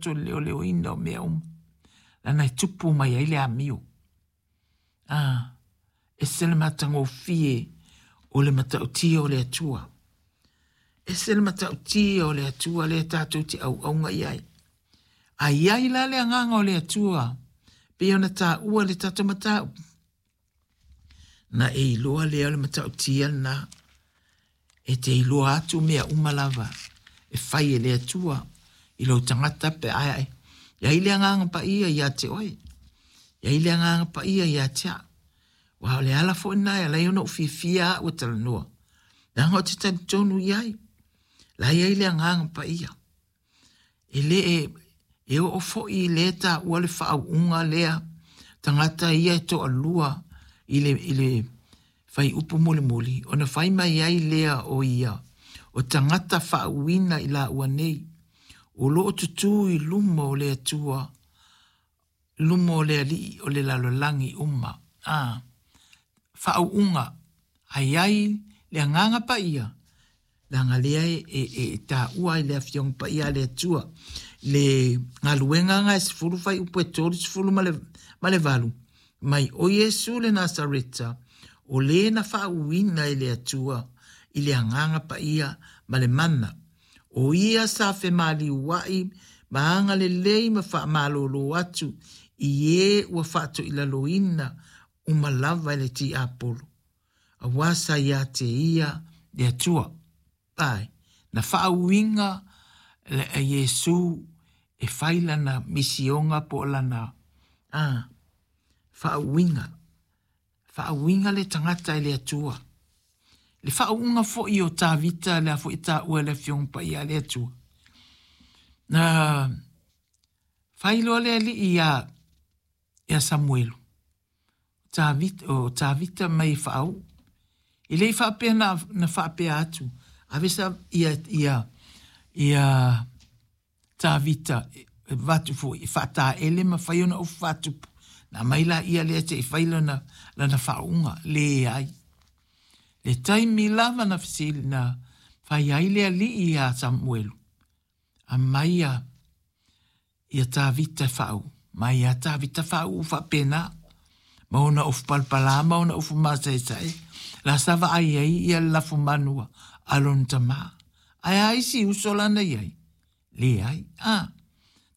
le leoleoina o mea uma, leaga e tupu mai ai le amio. A, ese le matagofie o le matautia o le Atua. Ese le matautia o le Atua lea tatou te auauna i ai. A i ai la le agaga o le Atua, pei ona taua le tatou mataupu, na e iloa lea o le matautia lena. E te iloa atu mea uma lava e fai e le Atua i lou tagata pe a e i ai le agaga paia ia te oe. I ai le agaga paia ia te au. Aua o le ala foi lena e ala ai ona ou fiafia au e talanoa. Leaga ou te talitonu i ai. La i ai le agaga paia. E le e, e oo foi i le taua le faauuga lea tagata ia e toalua i le, i le fuaiupu mulimuli, ona fai mai ai lea o ia, o tagata faauuina i laua nei, o lo o tutū i luma o le Atua, luma o le Alii o le lalolagi uma. A, faauuga, a i ai le Agaga Paia, leaga lea e, e, e taua ai le Afioga Paia a le Atua. Le galuega na e 10 fuaiupu e 38 ma le 8, mai o Iesu le Nasareta, o le na faauuina e le Atua i le Agaga Paia ma le mana, O ia sa femaliuaʻi ma agalelei ma faamalōlō atu i ē ua faatoilaloina uma lava e le tiapolo, auā sa iā te ia le Atua. ʻAe, na faauiga Iesū e fai lana misioga po o lana, a, faauiga. Faauiga le tagata e le Atua. Le faauuga foi o Tavita lea foi e taua e le Afioga Paia a le Atua. Na fai loa le alii iā, iā Samuelu, Tavita, o Tavita mai e faauu. E le i faapea na, na faapea atu, ave sa, ia, ia, ia, Tavita e avatu foi e faataele ma fai ona ofu faatupu. Na aumai laia lea se i fai lana, lana faauuga. Leai. Le taimi lava na fesili, na fai ai le alii iā Samuelu, aumai ia, ia Tavita e faauu. Mai ia Tavita faauu faapena, ma ona ofu palapala ma ona ofu masaesae, la sa vaai ai ia le lafumanu a lona tama. Ae a isi uso la na i ai? Leai. A,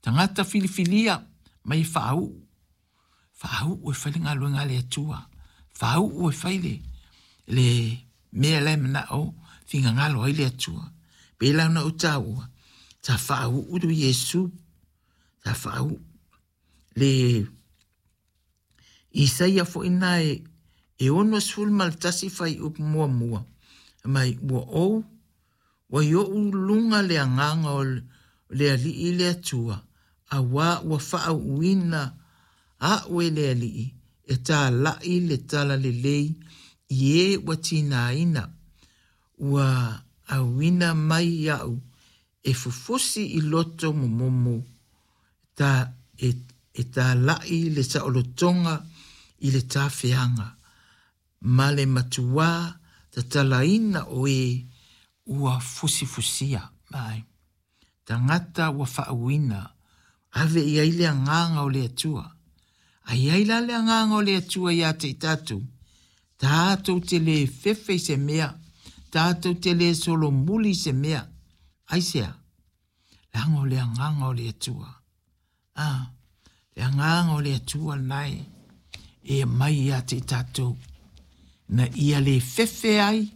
tagata filifilia mai e faauu. Faauu e fai le galuega a le Atua. Faauu e fai le, le mea la e manao finagalo ai le Atua. Pei la ona ou taua, sa faauu le Iesu, sa faauu le Isaia foi na e, e 61 fuaiupu muamua, mai ua ou Ua i oʻu luga le agaga o le Alii le Atua, auā ua faauuina aʻu e le Alii e tālaʻi le talalelei i ē ua tigaina, ua auina mai iaʻu e fufusi i loto momomo, ta, e, e tālaʻi le saolotoga i le tafeaga, ma le matuā tatalaina o ē ua fusifusia. Āe. Tagata ua faauuina, ave i ai le agaga o le Atua. A i ai la le agaga o le Atua iā te i tātou, tātou te lē fefe i se mea, tātou te lē solomuli i se mea. Aisea? Leaga o le agaga o le Atua. Ā, le agaga o le Atua lena e, e aumai ia te i tātou, ina ia lē fefe ai,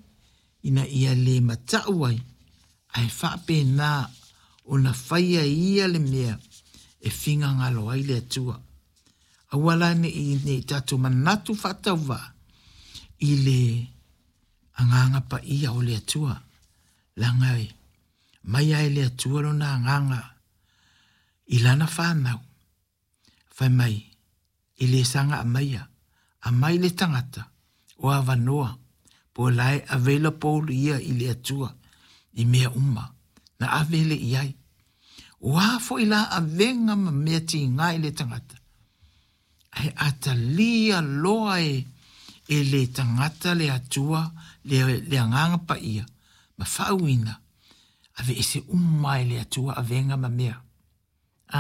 ina ia lē mataʻu ai, ae faapena ona faia e ia le mea e finagalo ai le Atua. Aua la ne i, ne i tātou manatu faatauvaa i le agaga paia o le Atua, leaga e aumai lava e le Atua lona agaga i lana whānau, whai mai, e le saga aumaia, aumai le tagata o avanoa po o la e available ia i le Atua i mea uma, na ave le i ai. O a foi la avega ma mea tiga i le tagata, ae a talia loa e, e le tagata le Atua, le, le Agaga Paia, ma faauina, aveese uma e le Atua avega ma mea.